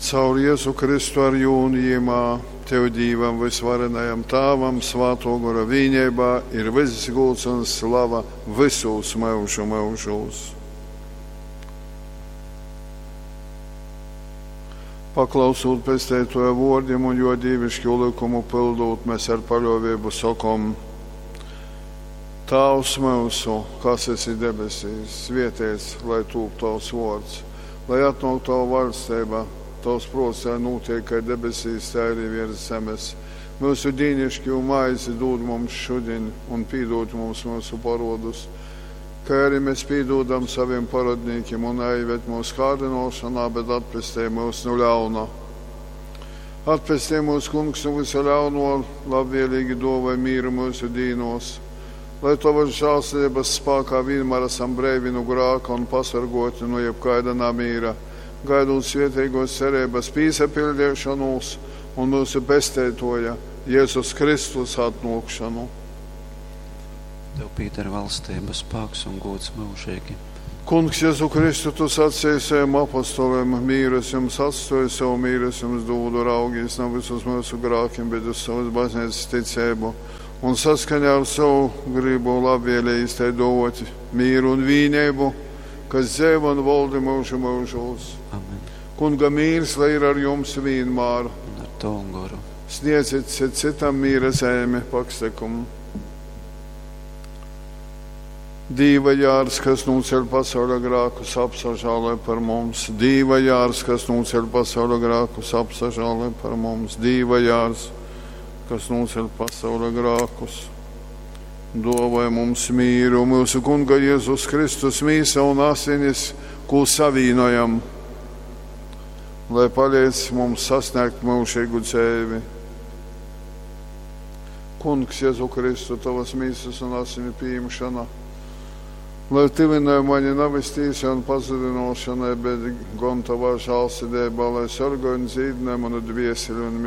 Caur Jezu Kristu ar jū un jimā, Tev Dīvam vysvarenajam Tāvam, Svātō Gora vīneibā ir vyss gūds un slava vysūs myužu myužūs. Paklausūt Pesteitōja vōrdim un jō dīviškū lykumu pyldūt, mes ar paļōveibu sokom: Tāvs myusu, kas esi debesīs, svēteits lai tūp tavs vōrds, lai atnōk tava vaļsteiba, tavs prōts lai nūteik kai debesīs, tai arī viers zemes. Myusu dīniškū maizi dūd mums šudiņ un pīdūd mums myusu porodus, kai arī mēs pīdūdam savim parodnīkim, un naieved mūsu kārdinošanā, bet atpestej mūs no ļauna. Atpestej mūs, Kungs, no visa ļauno, labvēlīgi dāvāj mīru mūsu dīnos, lai tavas žēlsirdības spēkā vienmēr esam breivi no grāka un pasargoti no jebkaida namīra, gaidot svētīgos cerības pīsapildīšanos un mūsu pesteitoja Jēzus Kristus atnākšanu. Tev pīder valstība, spēks un gods mūžīgi. Kungs, Jēzu Kristu, tu sacīji saviem apostoliem, mīru es jums atstoju, savu mīru es jums dodu, raugīs nav visus mūsu grākiem, bet uz savas baznīcas ticību. Un saskaņā ar savu gribu labvēlīgi tai dot mīru un vīnību, kas dzīvo un valda mūžu mūžos. Amen. Kunga mīrs, lai ir ar jums vienmēr. Un ar tavu goru. Sniedziet citam mīra zemi pakstekumu. Dīva jārs, kas nūceļ pasaules grākus, apsažālē par mums. Dīva jārs, kas nūceļ pasaules grākus, apsažālē par mums. Dīva jārs, kas nūceļ pasaules grākus, dāvāj mums mīru. Mūsu Kunga Jēzus Kristus mīsa un asinis, ko savīnojam, lai palīdz mums sasniegt mūžīgu dzīvi. Kungs, Jēzu Kristu, tavas mīsas un asinu pieņemšana, lai tuvinē mani nevis tīsai un pazudinošanai, bet gan tavā žēlsirdībā, lai sargāj un dzīdinē manu dvieseli un mīlu.